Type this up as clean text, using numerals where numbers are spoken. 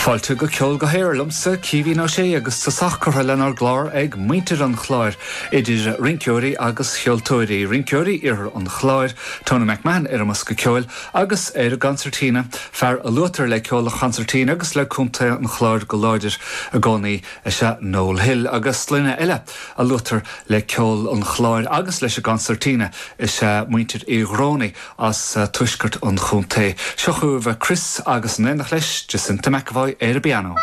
Fáilte go Ceol go hAer liomsa, Caoimhín Ó Sé, agus tosach curtha lenár gclár ag muintir an Chláir, idir rinceoirí agus cheoltóirí. Rinceoirí Iarthar an Chláir, Tony McMahon ar an mbosca ceoil agus ar an gconsairtín, fear a luaitear le ceol an chonsairtín agus le Contae an Chláir go láidir i gcónaí is ea Noel Hill. Agus sloinne eile a luaitear le ceol an Chláir agus leis an gconsairtín is ea muintir Uí Ghramhnaigh as tuaisceart an chontae. Seo chugaibh Chris agus in éineacht leis, Jacinta McEvoy ar an bpianó.